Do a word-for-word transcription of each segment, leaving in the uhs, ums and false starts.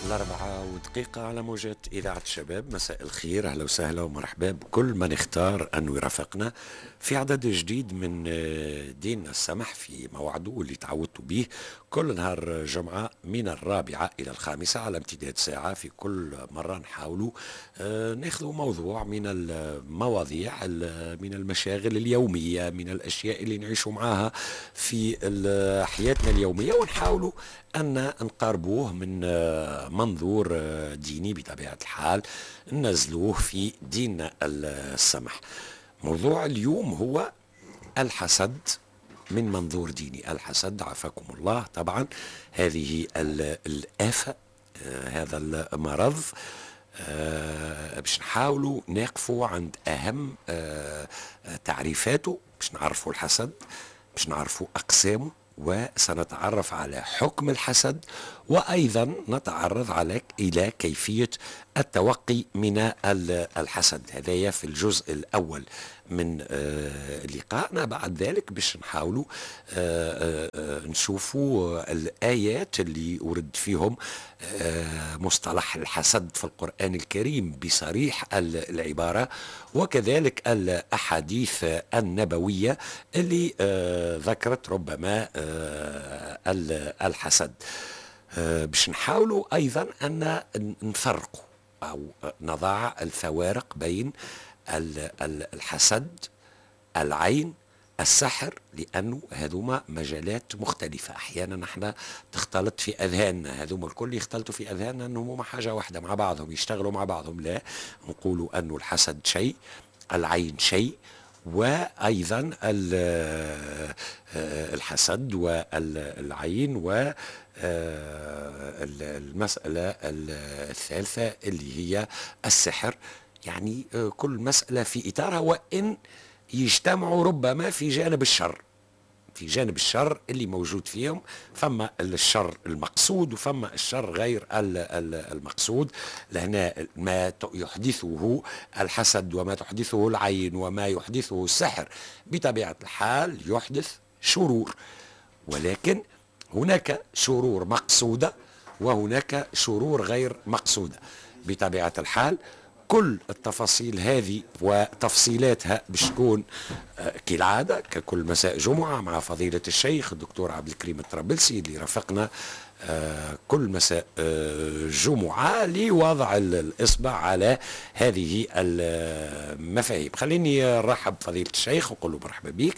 الأربعة ودقيقة على موجات إذاعة الشباب. مساء الخير، أهلا وسهلا ومرحبا بكل من اختار أنه يرافقنا في عدد جديد من ديننا السمح في موعده اللي تعودتوا به كل نهار جمعة من الرابعة إلى الخامسة على امتداد ساعة. في كل مرة نحاولوا ناخذ موضوع من المواضيع، من المشاغل اليومية، من الأشياء اللي نعيشوا معاها في حياتنا اليومية، ونحاولوا أن نقاربوه من منظور ديني بطبيعة الحال، ننزلوه في ديننا السمح. موضوع اليوم هو الحسد من منظور ديني. الحسد عافاكم الله، طبعا هذه الآفة، هذا المرض، باش نحاولوا نقفوا عند أهم تعريفاته، باش نعرفوا الحسد، باش نعرفوا أقسامه، وسنتعرف على حكم الحسد، وأيضا نتعرض على إلى كيفية التوقي من الحسد. هذايا في الجزء الأول من لقائنا. بعد ذلك باش نحاولوا نشوفوا الآيات اللي ورد فيهم مصطلح الحسد في القرآن الكريم بصريح العبارة، وكذلك الأحاديث النبوية اللي ذكرت ربما الحسد. باش نحاولوا أيضا أن نفرقوا أو نضع الفوارق بين الحسد، العين، السحر، لأنه هذوما مجالات مختلفة. أحيانا نحن تختلط في أذهاننا، هذوما الكل يختلطوا في أذهاننا أنهم هما حاجة واحدة مع بعضهم، يشتغلوا مع بعضهم. لا، نقولوا أنه الحسد شيء، العين شيء، وأيضا الحسد والعين، والمسألة الثالثة اللي هي السحر. يعني كل مسألة في إطارها، وإن يجتمعوا ربما في جانب الشر، في جانب الشر اللي موجود فيهم. فما الشر المقصود وفما الشر غير المقصود. لهنا ما يحدثه الحسد وما تحدثه العين وما يحدثه السحر بطبيعة الحال يحدث شرور، ولكن هناك شرور مقصودة وهناك شرور غير مقصودة بطبيعة الحال. كل التفاصيل هذه وتفصيلاتها باش تكون كالعادة ككل مساء جمعة مع فضيلة الشيخ الدكتور عبد الكريم الطرابلسي اللي رافقنا كل مساء جمعة لوضع الإصبع على هذه المفاهيم. خليني نرحب بفضيلة الشيخ ونقول له مرحبا بك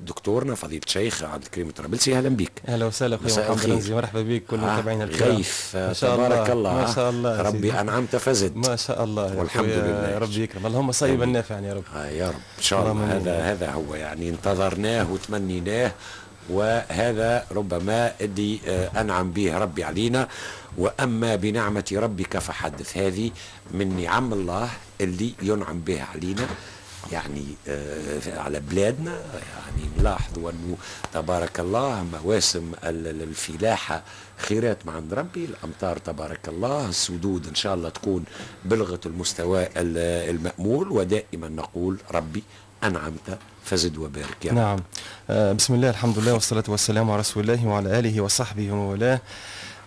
دكتورنا فضيلة الشيخ عبد الكريم الطرابلسي. اهلا بك. اهلا وسهلا اخوي محمد رمزي، مرحبا بك كل متابعينا الكرام. غيث تبارك الله، ما شاء الله، ربي انعمت فزد، ما شاء الله، والحمد لله، ربي يكرم، اللهم صيبا نافعا يا رب. آه يا رب ان شاء الله. هذا هذا هو يعني انتظرناه وتمنيناه، وهذا ربما اللي انعم به ربي علينا. واما بنعمه ربك فحدث، هذه من نعم الله اللي ينعم بها علينا، يعني على بلادنا. يعني نلاحظوا أنه تبارك الله مواسم الفلاحة خيرات مع عند ربي، الأمطار تبارك الله، السدود إن شاء الله تكون بلغت المستوى المأمول، ودائما نقول ربي أنعمت فزد وبارك يا رب. نعم. بسم الله، الحمد لله، والصلاة والسلام على رسول الله وعلى آله وصحبه ومن.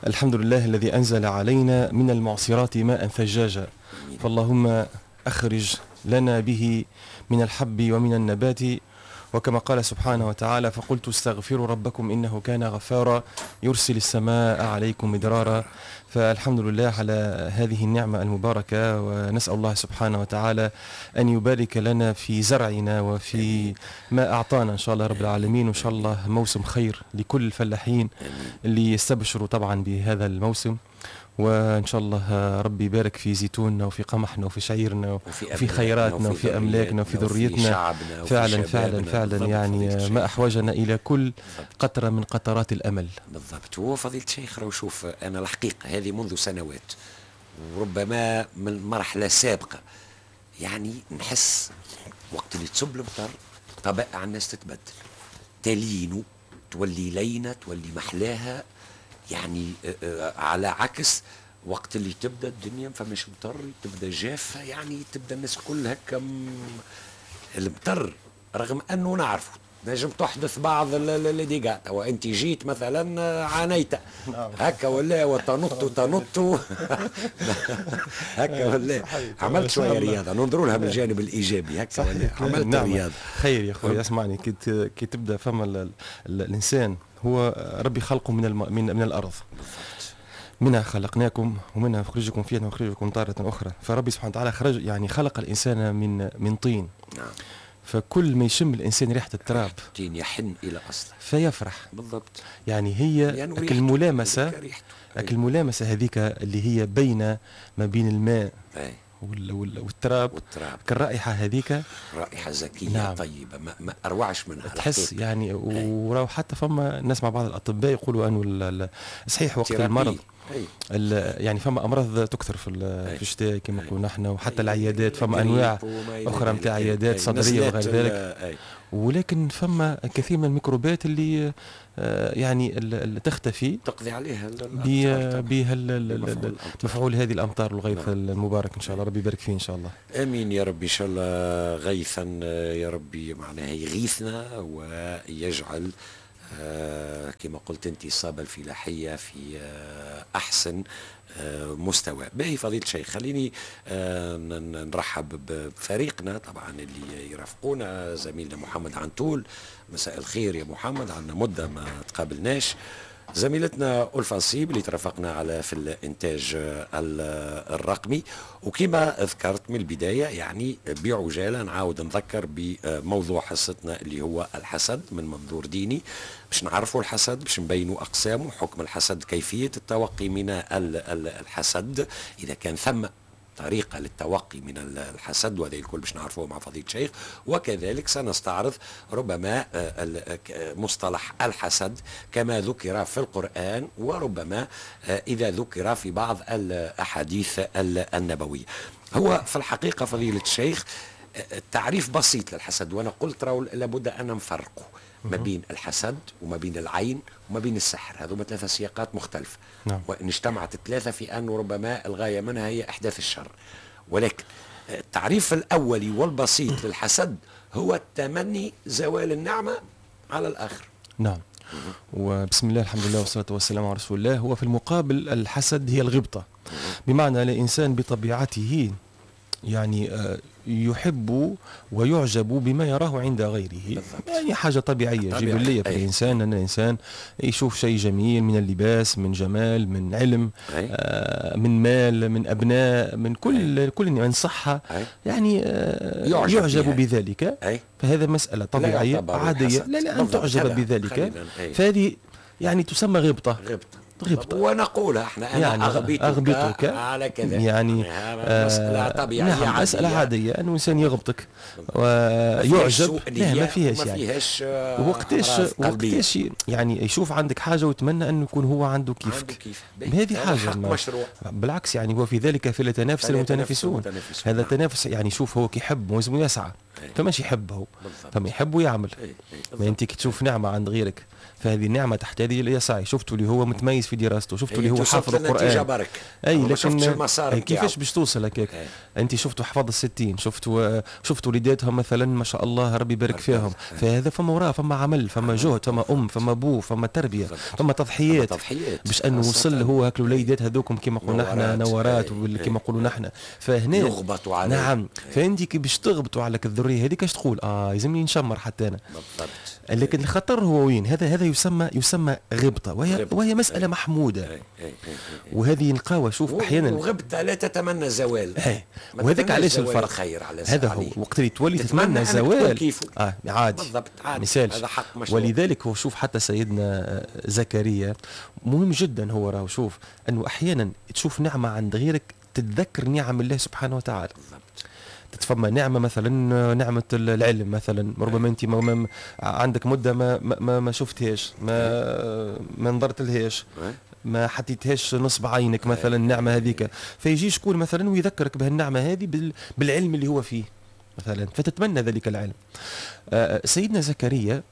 الحمد لله الذي أنزل علينا من المعصرات ماء ثجاجا، فاللهم أخرج لنا به من الحب ومن النبات. وكما قال سبحانه وتعالى: فقلت استغفروا ربكم إنه كان غفارا يرسل السماء عليكم مدرارا. فالحمد لله على هذه النعمة المباركة، ونسأل الله سبحانه وتعالى أن يبارك لنا في زرعنا وفي ما أعطانا إن شاء الله رب العالمين. وإن شاء الله موسم خير لكل الفلاحين اللي يستبشروا طبعا بهذا الموسم، وإن شاء الله ربي يبارك في زيتوننا وفي قمحنا وفي شعيرنا وفي, وفي خيراتنا وفي أملاكنا وفي ذريتنا. فعلا فعلا فعلا يعني ما أحوجنا إلى كل قطرة من قطرات الأمل. بالضبط. هو فضيلة الشيخ لو شوف أنا الحقيقة هذه منذ سنوات وربما من مرحلة سابقة، يعني نحس وقت اللي تصب المطر طبائع الناس تتبدل، تلين تولي لينة تولي محلاها، يعني على عكس وقت اللي تبدا الدنيا ما فماش مطر، تبدا جافة، يعني تبدا الناس كلها هكا المطر، رغم انه نعرفه نجم تحدث بعض les dégâts. توا انت جيت مثلا عانيت هكا ولا وتنط تنط هكا ولا عملت شوية رياضة، ننظروا لها من الجانب الايجابي هكا ولا عملت نعم. رياضة. خير يا خويا، اسمعني، كي كي تبدا فما ال ال الانسان هو ربي خلقه من الم من, من الارض بالضبط. منها خلقناكم ومنها نخرجكم فيها ونخرجكم تارة أخرى. فربي سبحانه وتعالى خرج يعني خلق الإنسان من من طين. نعم. فكل ما يشم الإنسان ريحة التراب طين يحن إلى أصله فيفرح. بالضبط. يعني هي الملامسة، الملامسة هذيك اللي هي بين ما بين الماء أي. والتراب، والتراب كالرائحة هذيك رائحة زكية. نعم. طيبة، ما, ما أروعش منها تحس يعني. وراو حتى فما نسمع بعض الأطباء يقولوا أنه صحيح وقت المرض يعني فما امراض تكثر في في الشتاء كما نقولوا نحن، وحتى العيادات فما انواع اخرى نتاع عيادات صدريه وغير ذلك، ولكن فما كثير من الميكروبات اللي يعني اللي تختفي تقضي عليها بها مفعول هذه الامطار والغيث. نعم. المبارك ان شاء الله، ربي يبارك فيه ان شاء الله. امين يا ربي، ان شاء الله غيثا يا ربي، معناها يغيثنا ويجعل آه كما قلت انت الصابة الفلاحية في آه أحسن آه مستوى. باهي فضيلة الشيخ، خليني آه نرحب بفريقنا طبعا اللي يرافقونا، زميلنا محمد عنتول. مساء الخير يا محمد، عندنا مدة ما تقابلناش. زميلتنا ألفا نصيب اللي ترافقنا على في الإنتاج الرقمي. وكما ذكرت من البداية يعني بعجالة نعاود نذكر بموضوع حصتنا اللي هو الحسد من منظور ديني، باش نعرفوا الحسد، باش نبينوا أقسامه، حكم الحسد، كيفية التوقي من الحسد إذا كان ثم طريقة للتوقي من الحسد، وهذا الكل باش نعرفوه مع فضيلة الشيخ. وكذلك سنستعرض ربما مصطلح الحسد كما ذكر في القرآن، وربما إذا ذكر في بعض الأحاديث النبوية. هو في الحقيقة فضيلة الشيخ التعريف بسيط للحسد، وأنا قلت لابد أن نفرقه ما بين الحسد وما بين العين وما بين السحر، هذوما ثلاثة سياقات مختلفة. نعم. وإن اجتمعت الثلاثة في أن ربما الغاية منها هي إحداث الشر، ولكن التعريف الأولي والبسيط للحسد هو التمني زوال النعمة على الآخر. نعم. وبسم الله الحمد لله والصلاة والسلام على رسول الله. هو في المقابل الحسد هي الغبطة، بمعنى الإنسان بطبيعته يعني يحب ويعجب بما يراه عند غيره. بالضبط. يعني حاجة طبيعية جبلية في الإنسان، أن الإنسان يشوف شيء جميل من اللباس، من جمال، من علم، آه من مال، من أبناء، من كل أي. كل من صحة. أي. يعني آه يعجب, يعجب بذلك. أي. فهذا مسألة طبيعية عادية، لا لا أن تعجب بذلك. فهذه يعني تسمى غبطة. غبطة غبطة. ونقولها احنا انا يعني أغبطك, أغبطك على كذا، يعني مسألة طبيعية. نعم، مسألة عادية أنه إنسان يغبطك ويعجب. لا ما فيهاش يعني، ما فيهاش وقتاش وقتاش يعني يشوف عندك حاجة ويتمنى أنه يكون هو عنده كيفك. كيف. هذه حاجة مشروع. بالعكس يعني هو في ذلك فليتنافس المتنافسون. هذا التنافس يعني شوف هو كيحب ولازم يسعى، فماش يحب هو، فما يحب ويعمل. ما أنت كي تشوف نعمة عند غيرك فهذه النعمة تحتاج إلى سعي. شفتوا اللي هو متميز في دراسته، شفتوا اللي هو حافظ القرآن. برك. أي لكن كيفاش باش توصل هكاك؟ أنت شفتوا حفظ الستين، شفتوا شفتوا وليداتهم مثلا ما شاء الله ربي يبارك فيهم، فهذا فما وراه، فما عمل، فما جهد، فما أم، فما بو، فما تربية، فما تضحيات باش أنه وصل هو هاك الوليدات هذوكم كما قلنا احنا نورات كما نقولوا نحن. فهنا يغبطوا عليه. نعم. فأنت كي باش تغبطوا على الذرية هذيك اش تقول؟ اه يلزمني نشمر حتى أنا. بالضبط. لكن الخطر هو وين؟ هذا هذا يسمى يسمى غبطة، وهي غبطة. وهي مسألة محمودة. أي. أي. أي. وهذه نلقاوها شوف أحيانا وغبطة لا تتمنى زوال. وهذاك علاش الفرق خير على هذا هو وقت اللي تولي تتمنى زوال اه عادي. بالضبط عادي. مثال. هذا حق مشروع. ولذلك هو شوف حتى سيدنا زكريا مهم جدا هو راهو شوف أنه أحيانا تشوف نعمة عند غيرك تتذكر نعم الله سبحانه وتعالى. بالضبط. تتفهم نعمة مثلا نعمة العلم مثلا، ربما أنت ما عندك مدة ما ما ما شفتهاش، ما ما نظرت لهاش، ما حطيتهاش نصب عينك مثلا النعمة هذيك، فيجي شكون مثلا ويذكرك بهالنعمة هذه بالعلم اللي هو فيه مثلا، فتتمنى ذلك العلم. سيدنا زكريا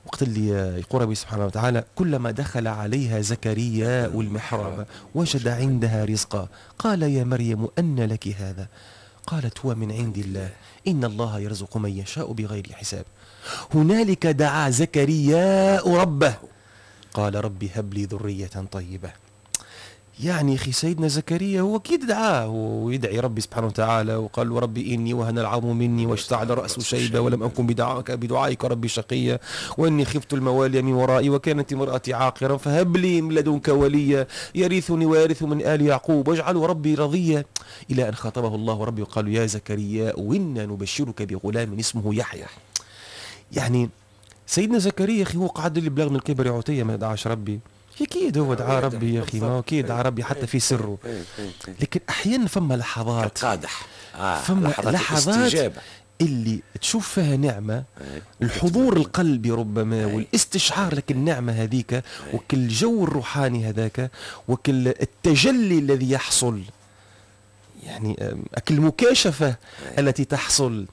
وقت اللي يقول ربي سبحانه وتعالى كلما دخل عليها زكريا المحراب وجد عندها رزقا قال يا مريم أن لك هذا قالت هو من عند الله إن الله يرزق من يشاء بغير حساب. هنالك دعا زكريا ربه قال ربي هب لي ذرية طيبة. يعني أخي سيدنا زكريا هو أكيد دعاه ويدعي ربي سبحانه وتعالى وقال له ربي إني وهن العظم مني واشتعل الرأس شيبة ولم أكن بدعائك بدعائك ربي شقيا وإني خفت الموالي من ورائي وكانت امرأتي عاقرا فهب لي من لدنك وليا يرثني ويرث من آل يعقوب واجعله ربي رضيا، إلى أن خاطبه الله ربي وقال يا زكريا وإنا نبشرك بغلام اسمه يحيى. يعني سيدنا زكريا أخي هو قعد اللي بلغ من الكبر عتية ما دعاش ربي، اكيد هو دعا ربي يا اخي، ما اكيد دعا ربي حتى في سره، لكن احيانا فما لحظات قادح آه فما لحظات, لحظات اللي تشوف فيها نعمه، الحضور القلبي ربما والاستشعار لك النعمة هذيك وكل جو الروحاني هذاك وكل التجلي الذي يحصل، يعني المكاشفه التي تحصل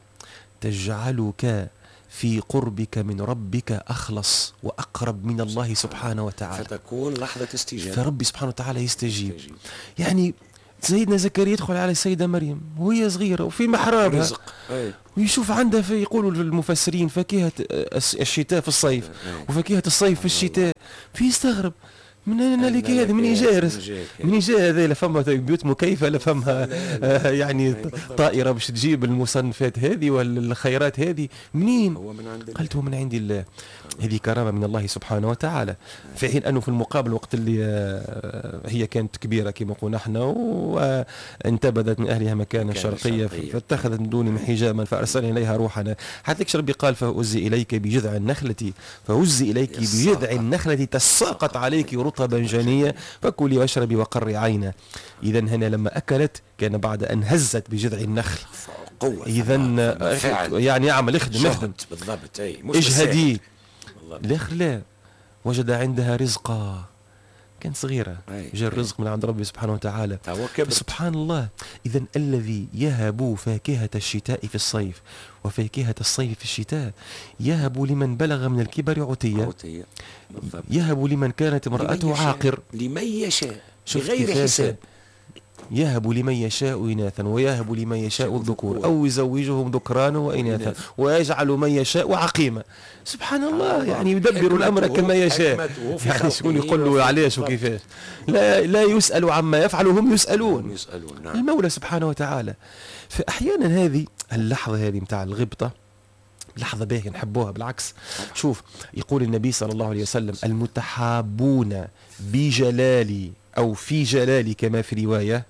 تجعلك في قربك من ربك أخلص وأقرب من الله سبحانه وتعالى، فتكون لحظة استجابة، فربي سبحانه وتعالى يستجيب. يعني سيدنا زكريا يدخل على السيدة مريم وهي صغيرة وفي محرابها ويشوف عندها في، يقولوا المفسرين فاكهة الشتاء في الصيف وفاكهة الصيف في الشتاء، فيستغرب من أين لك هذا، من جاء من جاء هذا، لا فما بيوت مكيفة لا فما يعني طائرة باش تجيب المصنفات هذه والخيرات هذه منين؟ هو من عند الله. قالت هو من عند الله. هذه كرامة من الله سبحانه وتعالى. في حين أنه في المقابل وقت اللي هي كانت كبيرة كما قلنا احنا وانتبذت من أهلها مكانا شرقيا فاتخذت من دونهم حجابا فأرسلنا إليها روحنا، حتى لكش ربي قال فهزي إليك بجذع النخلة فهزي إليك بجذع النخلة تساقط عليك رطبا جنيا فكلي واشربي وقري عينا. إذا هنا لما أكلت كان بعد أن هزت بجذع النخل قوة، إذا يعني اعمل اخدم اخدم بالضبط، أي اجهدي. الآخر لا، وجد عندها رزقا، كانت صغيرة جاء الرزق من عند ربي سبحانه وتعالى. سبحان الله. إذا الذي يهب فاكهة الشتاء في الصيف وفاكهة الصيف في الشتاء يهب لمن بلغ من الكبر عتية، يهب لمن كانت امرأته عاقر، لمن يشاء بغير حساب، يهب لمن يشاء إناثا ويهب لمن يشاء الذكور أو يزوجهم ذكرانا وإناثا ويجعل من يشاء عقيما. سبحان الله، يعني يدبر الأمر كما يشاء، يعني شكون يقول له علاش وكيفاش؟ لا لا يسأل عما يفعل هم يسألون، يسألون نعم. المولى سبحانه وتعالى. فأحيانا هذه اللحظة هذه متاع الغبطة لحظة باهية نحبوها بالعكس. شوف يقول النبي صلى الله عليه وسلم المتحابون بجلالي أو في جلالي كما في رواية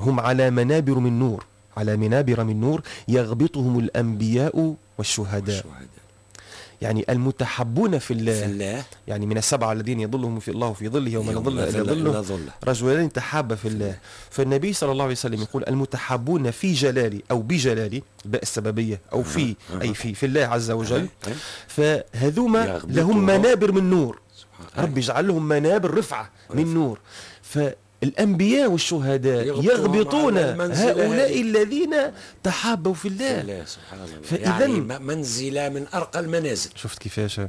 هم على منابر من نور، على منابر من نور يغبطهم الأنبياء والشهداء. يعني المتحبون في الله, في الله يعني من السبعة الذين يظلهم في الله في ظله يوم لا ظل إلا ظله رجلان تحابا في الله. فالنبي صلى الله عليه وسلم يقول المتحابون في جلالي أو بجلالي، باء السببية أو في أي في في الله عز وجل، فهذوما لهم منابر من نور، ربي يجعل لهم منابر رفعة من نور. فالأنبياء والشهداء يغبطون هؤلاء الذين تحابوا في الله, الله سبحان الله. فإذا يعني منزلة من أرقى المنازل. شفت كيفاش؟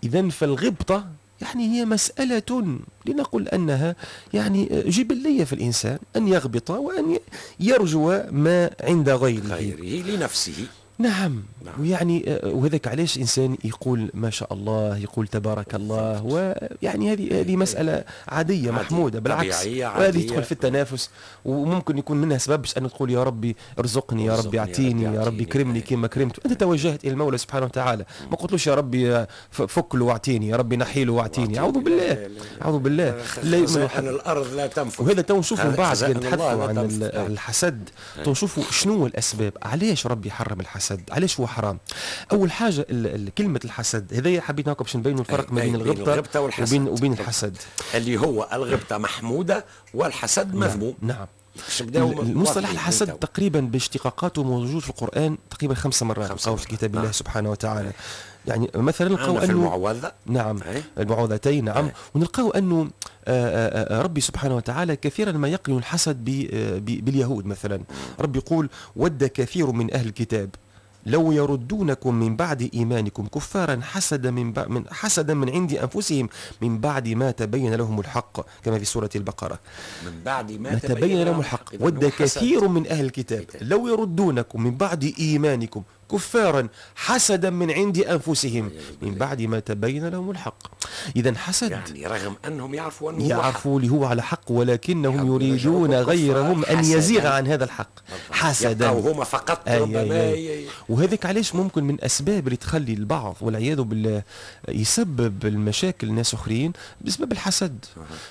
إذا فالغبطة يعني هي مسألة لنقل أنها يعني جبلية في الإنسان أن يغبط وأن يرجو ما عند غيره, غيره لنفسه. نعم. نعم. ويعني وهذاك علاش انسان يقول ما شاء الله، يقول تبارك الله، ويعني هذه هذه مسالة عادية محمودة بالعكس، وهذه تدخل في التنافس وممكن يكون منها سبب باش ان تقول يا ربي ارزقني، يا ربي اعطيني، يا ربي كرمني كما كرمت. انت توجهت الى المولى سبحانه وتعالى، ما قلتلوش يا ربي فك له واعطيني، يا ربي نحي له واعطيني. اعوذ بالله، اعوذ بالله. لا الارض لا تنفذ. وهذا تو نشوفوا من بعد نتحدثوا عن الحسد، تو نشوفوا شنو الاسباب، علاش ربي حرم الحسد، علاش هو حرام. اول حاجة كلمة الحسد هذايا حبيت ناكم باش نبينوا الفرق ما بين الغبطه وبين وبين الحسد، اللي هو الغبطه محمودة والحسد مذموم. نعم. المصطلح الحسد تقريبا باشتقاقاته موجود في القرآن تقريبا خمس مرات أو في كتاب الله سبحانه وتعالى. يعني مثلا نلقاو انه المعوذة، نعم المعوذتين، نعم. ونلقاو انه ربي سبحانه وتعالى كثيرا ما يقرن الحسد باليهود مثلا. ربي يقول ود كثير من اهل الكتاب لو يردونكم من بعد إيمانكم كفارا حسدا من, من حسدا من عند أنفسهم من بعد ما تبين لهم الحق، كما في سورة البقرة. من بعد ما, ما تبين لهم الحق. ود كثير من أهل الكتاب لو يردونكم من بعد إيمانكم كفارا حسدا من عند أنفسهم من بعد ما تبين لهم الحق. إذا حسد، يعني رغم أنهم يعرفوا أنه يعرفوا اللي هو على حق، ولكنهم يريدون غيرهم أن يزيغ عن هذا الحق حسدا، وهما فقط ربما. وهذاك علاش ممكن من أسباب اللي تخلي البعض والعياذ بالله يسبب المشاكل لناس آخرين بسبب الحسد.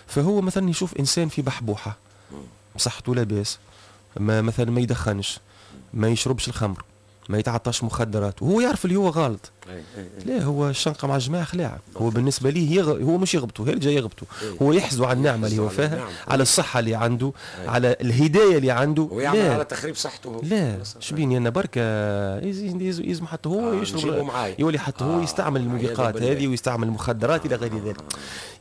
فهو مثلا يشوف إنسان في بحبوحة، صحته لاباس، ما مثلا ما يدخنش، ما يشربش الخمر، ما يتعاطاش مخدرات، وهو يعرف اللي هو غلط. لا، هو الشنقه مع الجماعة خلاعه، هو بالنسبة ليه يغ... هو مش يغبطه، هي اللي جاي يغبطه، هو يحزو على النعمة اللي هو فيها، على الصحة اللي عنده، على الهداية اللي عنده، ويعمل على تخريب صحته. لا شبيني انا بركة يلزم حتى هو آه يشرب، يولي حتى هو آه يستعمل الموبقات هذه ويستعمل المخدرات الى غير ذلك.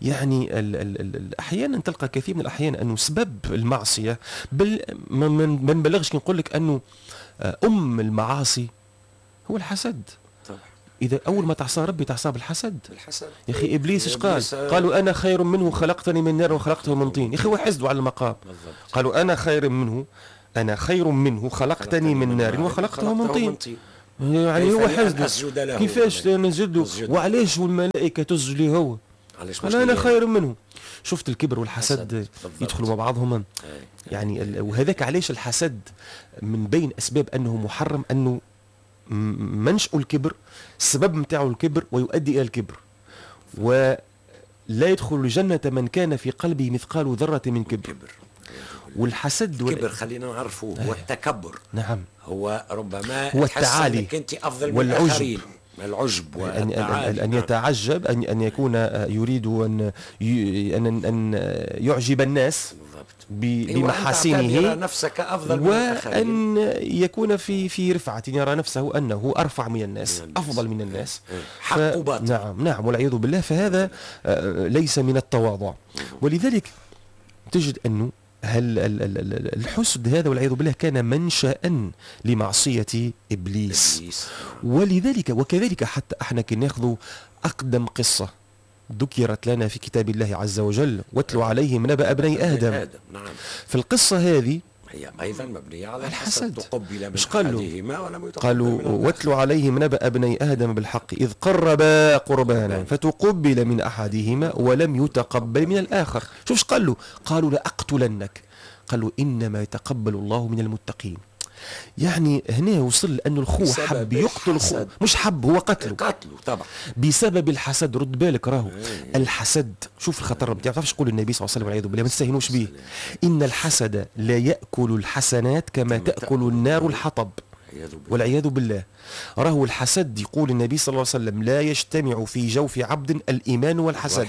يعني ال ال ال احيانا تلقى كثير من الاحيان انه سبب المعصية، بل ما نبلغش كي نقول لك انه أم المعاصي هو الحسد. طبعا. إذا أول ما تعصى ربي تعصى بالحسد. بالحسد. يا أخي إبليس إيش قال؟ قالوا أنا خير منه خلقتني من نار وخلقته من طين. يا أخي هو حسده على المقام. بالضبط. قالوا أنا خير منه، أنا خير منه خلقتني من نار وخلقته من طين. يعني هو حسده، كيفاش نسجد له؟ وعلاش والملائكة تسجد لي هو؟ قال أنا خير منه. شفت الكبر والحسد يدخلوا مع بعضهم. يعني وهذاك علاش الحسد من بين أسباب أنه محرم، أنه منشأ الكبر، السبب نتاعو الكبر ويؤدي إلى الكبر. ولا يدخل الجنة من كان في قلبه مثقال ذرة من كبر. والحسد الكبر خلينا نعرفه هو التكبر. نعم. هو ربما هو التعالي، انك انت افضل من الاخرين، العجب والتعالي، أن, أن يتعجب، أن أن يكون يريد أن أن أن يعجب الناس بمحاسنه، يرى نفسك أفضل من الآخرين، وأن يكون في في رفعة، يرى نفسه أنه أرفع من الناس، أفضل من الناس، حق وباطل. نعم نعم والعياذ بالله. فهذا ليس من التواضع. ولذلك تجد أنه هل الحسد هذا والعياذ بالله كان منشأ لمعصية إبليس. ولذلك وكذلك حتى احنا كي ناخذ أقدم قصة ذكرت لنا في كتاب الله عز وجل، واتلو عليهم نبأ ابني آدم. نعم. في القصة هذه هي أيضا مبنية على الحسد، تقبل من أحدهما ولم يتقبل. قالوا واتلو عليهم نبأ ابني آدم بالحق إذ قربا قربانا فتقبل من أحدهما ولم يتقبل من الآخر. شوف ايش قالوا؟ قالوا لأقتلنك. قالوا إنما يتقبل الله من المتقين. يعني هنا وصل أنه الخو حب يقتل خو، مش حب، هو قتله. قتله طبعا بسبب الحسد. رد بالك راهو الحسد، شوف الخطر بتاعه. تعرفش يقول النبي صلى الله عليه وسلم والعياذ بالله، ما تستهينوش به، إن الحسد لا يأكل الحسنات كما تأكل النار الحطب والعياذ بالله. راهو الحسد يقول النبي صلى الله عليه وسلم لا يجتمع في جوف عبد الإيمان والحسد.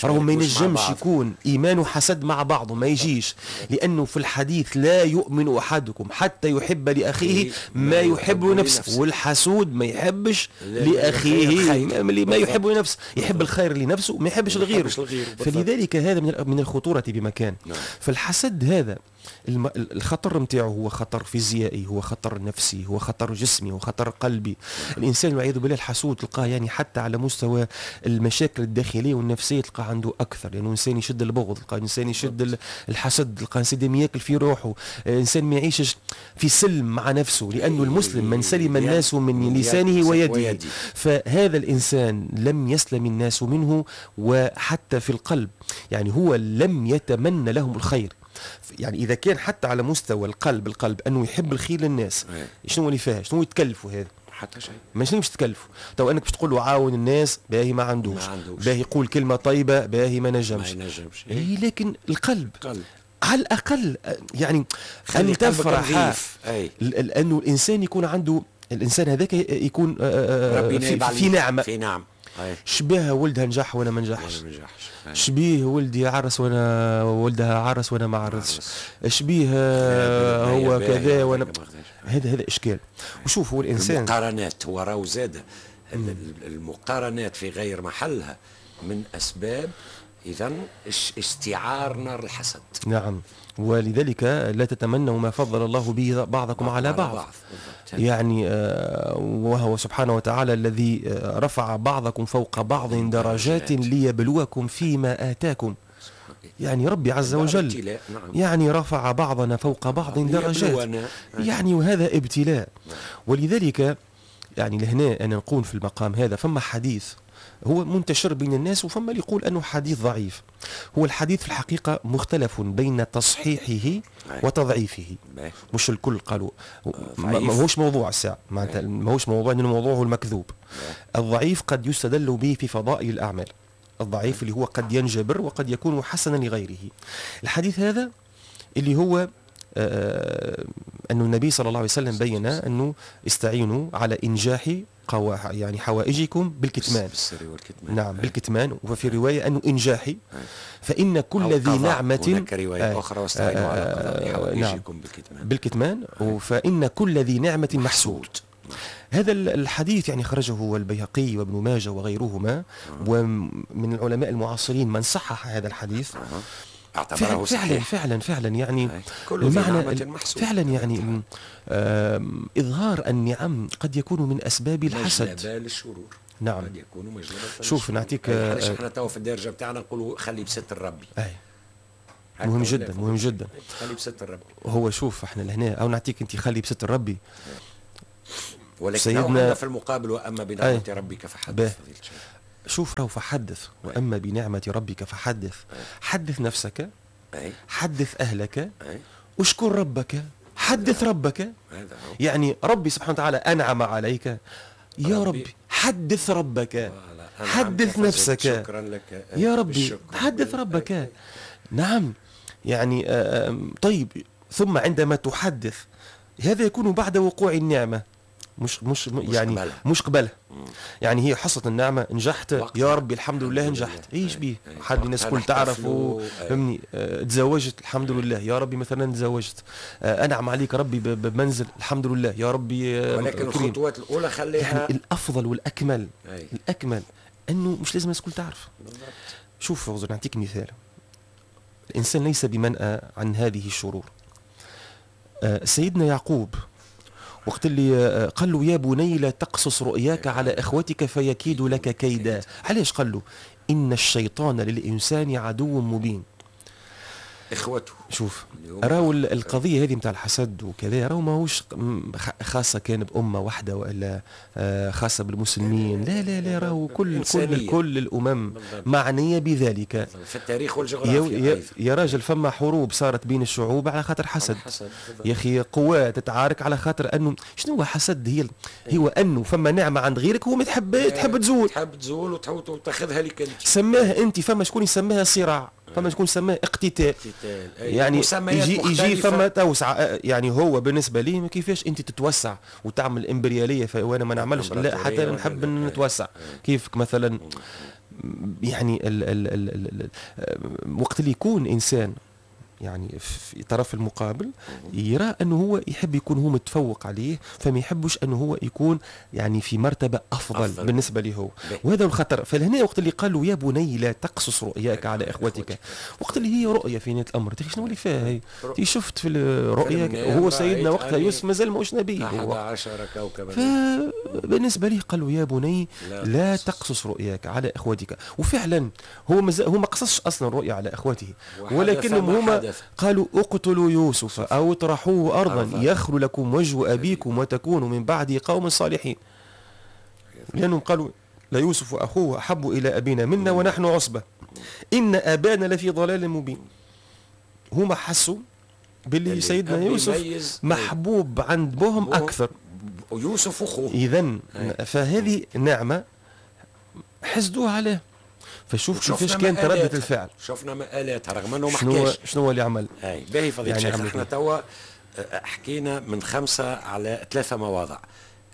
راهو ما ينجمش يكون إيمان وحسد مع بعضه، ما يجيش، لأنه في الحديث لا يؤمن أحدكم حتى يحب لأخيه ما يحب لنفسه، والحسود ما يحبش لأخيه ما يحب لنفسه، يحب الخير لنفسه ما يحبش لغيره. فلذلك هذا من الخطورة بمكان. فالحسد هذا الخطر نتاعو هو خطر فيزيائي، هو خطر نفسي، هو خطر جسمي، هو خطر قلبي. الانسان والعياذ بالله الحسود تلقاه يعني حتى على مستوى المشاكل الداخلية والنفسية تلقاه عنده اكثر، لانه يعني انسان يشد البغض، تلقاه انسان يشد الحسد، تلقاه انسان ياكل في روحه، انسان ما يعيشش في سلم مع نفسه، لانه المسلم من سلم الناس من لسانه ويده. فهذا الانسان لم يسلم الناس منه، وحتى في القلب يعني هو لم يتمنى لهم الخير. يعني اذا كان حتى على مستوى القلب، القلب انه يحب الخير للناس، شنو اللي فيها؟ شنو يتكلفوا هذا؟ حتى شيء. ما شنو باش تكلفوا؟ تو انك باش تقول له عاون الناس، باهي ما عندوش، باهي يقول كلمة طيبة، باهي ما نجمش. ما ينجمش. إيه لكن القلب قلب. على الاقل يعني ان تفرح، لانه الانسان يكون عنده، الانسان هذاك يكون في, في نعمه، في نعم. شبيه ولدها نجح وانا ما نجحش، شبيه ولدي عرس وانا ولدها عرس وانا ما عرسش، شبيه هو كذا وانا هذا هذا اشكال. وشوف هو الانسان المقارنات، هو راهو زاد المقارنات في غير محلها من اسباب اذا استعار نار الحسد. نعم، ولذلك لا تتمنوا ما فضل الله به بعضكم على بعض, بعض. يعني وهو سبحانه وتعالى الذي رفع بعضكم فوق بعض درجات ليبلوكم فيما آتاكم. يعني ربي عز وجل يعني رفع بعضنا فوق بعض درجات، يعني وهذا ابتلاء. ولذلك يعني لهنا انا نقول في المقام هذا فما حديث هو منتشر بين الناس، وفما اللي يقول أنه حديث ضعيف. هو الحديث في الحقيقة مختلف بين تصحيحه وتضعيفه، مش الكل قالوا ما هوش موضوع الساعة، معناتها ما هوش موضوع، لأنه الموضوع هو المكذوب. الضعيف قد يستدل به في فضائل الأعمال، الضعيف اللي هو قد ينجبر وقد يكون حسنا لغيره. الحديث هذا اللي هو آه أن النبي صلى الله عليه وسلم بين أنه استعينوا على إنجاح يعني حوائجكم بالكتمان، بالسر والكتمان. نعم بالكتمان. وفي رواية أنه إنجاحي، فإن كل ذي نعمة، هناك رواية أخرى واستعينوا على قضاء حوائجكم نعم بالكتمان، بالكتمان فإن كل ذي نعمة محسود. هذا الحديث يعني خرجه البيهقي وابن ماجه وغيرهما، ومن العلماء المعاصرين من صحح هذا الحديث، اعتبره فعلا فعلا فعلا يعني المعنى فعلا يعني إظهار النعم قد يكون من أسباب الحسد، مجلبة للشرور. نعم قد يكون مجلبة. شوف نعطيك، علاش احنا تو في الدرجة بتاعنا نقولوا خلي بستر ربي. أي مهم جدا، مهم جدا، خلي بستر ربي. هو شوف احنا لهنا او نعطيك انت خلي بستر ربي، ولكن سيدنا في المقابل واما بنعمة ربك فحدث. شوف راهو فحدث، وأما بنعمة ربك فحدث. حدث نفسك، حدث أهلك، اشكر ربك، حدث ربك. يعني ربي سبحانه وتعالى أنعم عليك يا ربي، حدث ربك، حدث نفسك، شكرا لك يا ربي، حدث ربك. نعم يعني طيب، ثم عندما تحدث هذا يكون بعد وقوع النعمة، مش مش, مش يعني قبلها. مش قبلها. يعني هي حصلت النعمة، نجحت يا ربي الحمد لله نجحت، ايش بيه حد الناس كل تعرف، فهمني. اه تزوجت الحمد لله يا ربي، مثلا تزوجت، اه انعم عليك ربي بمنزل الحمد لله يا ربي. اه ولكن الخطوات الاولى خليها يعني الافضل والاكمل. أي. الاكمل انه مش لازم الناس كل تعرف. بالضبط. شوف نعطيك مثال، الانسان ليس بمنأى عن هذه الشرور. اه سيدنا يعقوب وقت اللي قال له يا بني لا تقصص رؤياك على اخوتك فيكيد لك كيدا. علاش قال له؟ ان الشيطان للانسان عدو مبين. اخوته. شوف راهو القضية هذه نتاع الحسد وكذا، راهو ماهوش خاصة كان بامه واحدة والا خاصة بالمسلمين، لا لا لا، راهو كل كل كل الامم معنية بذلك في التاريخ والجغرافيا. يا, يا راجل فما حروب صارت بين الشعوب على خاطر حسد. يا اخي قوات تتعارك على خاطر انه شنو هو حسد؟ هي هو انه فما نعمه عند غيرك هو ما تحب تحب تزول، تحب تزول وتاخذها لك انت. سماها انت، فما شكون يسميها صراع، فما شكون سماه اقتتال، يعني يجي يجي فما توسع. يعني هو بالنسبة لي كيفاش انت تتوسع وتعمل امبرياليه وانا ما نعملش، لا حتى نحب نتوسع. كيفك مثلا يعني ال ال ال ال وقت اللي يكون انسان يعني في طرف المقابل يرى انه هو يحب يكون هو متفوق عليه، فما يحبش انه هو يكون يعني في مرتبه افضل, أفضل. بالنسبة له هو، وهذا الخطر. فلهنا وقت اللي قالوا يا بني لا تقصص رؤياك على اخوتك، وقت اللي هي رؤية في نهاية الامر، شنو اللي فيها هي؟ شفت في الرؤيا، وهو سيدنا وقتها يوسف مازال ماهوش نبي، أحد عشر كوكبا. فبالنسبه لي قالوا يا بني لا, لا تقصص رؤياك على اخوتك، وفعلا هو مازال هو ما قصصش اصلا الرؤيا على اخوته، ولكنهم هما قالوا اقتلوا يوسف أو اطرحوه أرضا يخل لكم وجه أبيكم وتكونوا من بعده قوم صالحين. لأنهم قالوا لا يوسف وأخوه أحب إلى أبينا منا ونحن عصبة إن أبانا لفي ضلال مبين. هما حسوا باللي سيدنا يوسف محبوب عند بهم أكثر، يوسف أخوه. إذن فهذه نعمة حسدوها عليه. فشوف كيفاش كانت ردة الفعل، شفنا مآلاتها رغم انه ما حكاش شنو هو اللي عمل. اي باهي فضيلة الشيخ، يعني احنا توا حكينا من خمسة على ثلاثة مواضع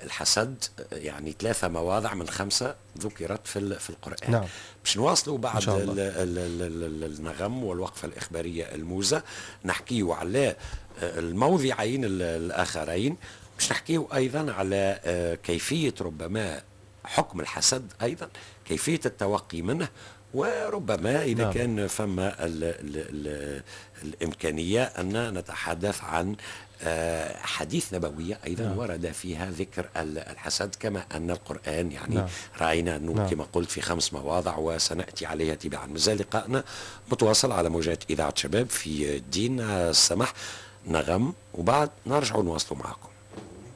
الحسد، يعني ثلاثة مواضع من خمسة ذكرت في في القرآن. نعم. باش نواصلوا بعد ال ال ال النغم والوقفة الإخبارية الموزة، نحكيو على الموضعين الآخرين، باش نحكيو أيضا على كيفية ربما حكم الحسد، أيضا كيفية التوقي منه، وربما إذا نعم. كان فما ال ال ال الإمكانية أن نتحدث عن حديث نبوية أيضا نعم. ورد فيها ذكر الحسد، كما أن القرآن يعني نعم. رأينا أنه نعم. كما قلت في خمس مواضع وسنأتي عليها تباعا. مازال لقائنا متواصل على موجات إذاعة شباب في دين السمح نغم، وبعد نرجع نواصلوا معكم.